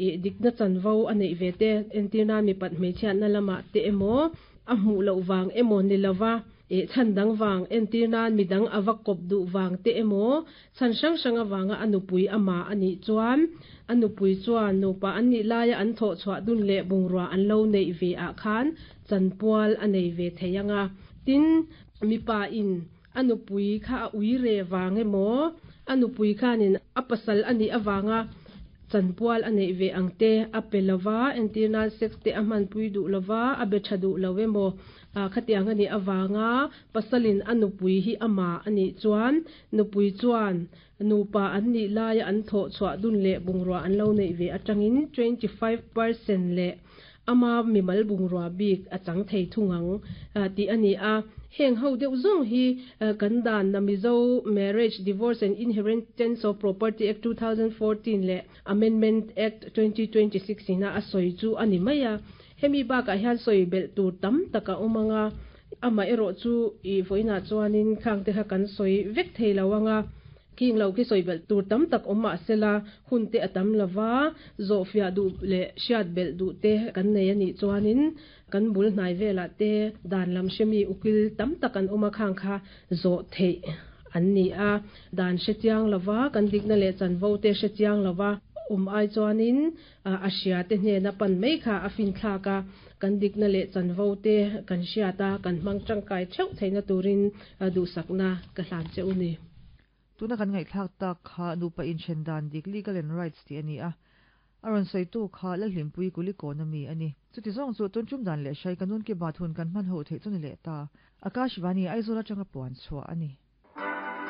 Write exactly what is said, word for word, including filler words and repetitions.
I dikna chanvo a neih ve te entirna mi pat hmeichhiatna lamah te emaw a hmuh loh wang emaw ni lova e chan dang wang entirna midang awa kop du wang te emaw chan hrang hrang awanga anupui ama ani chuan anupui chuan nupa an ni laia an tho chhuah dun le bungrua an lo nei ve a khan chanpual a nei ve theianga tin mipa in anupui kha a ui re wang emaw anupui khanin a pasal ani awanga chanpual a nei ve angte a pe lova entirna sex te a hman pui du lova a be tha du lo emaw a khatiang ani awanga pasalin anupui hi ama ani chuan nupui chuan nupa an ni laia an tho chhuah dun le bungrua an lo nei ve atangin twenty-five percent le ama mimal bungrua bik a chang thei thungang ti ani a heng ho deuh zong hi kan dan na Mizo Marriage Divorce and Inheritance of Property Act two thousand fourteen le Amendment Act twenty twenty-six ina a soi chu ani maia hemi ba ka hian soi bel tur tam taka umanga ama ero chu i voina chuanin khang te kha kan soi vek theilawanga king lo ki soi bel tur tam tak omma sela hun te atam lova zofia du le shiat bel du te kan nei ani chuanin kan bul hnai vela te dan lam shemi ukil tam tak an oma khang kha zo thei an ni a dan she chiang lova kan dikna le chan vo te she chiang lova um ai chuanin a hria te hne na pan mai kha a fin thla ka kan dikna le chan vo te kan hriata kan mang tangkai theuh theina turin du sakna ka hlan che uni tuna kan ngai thlak tak kha nupa in thendan dik legal and rights ti ani a aron sei tu kha la hlimpui kuli economy ani chuti zong chu tun chum dan le shai kanun ke bathun kan man ho thei chuni le ta Akashvani Aizola changa puan chua ani.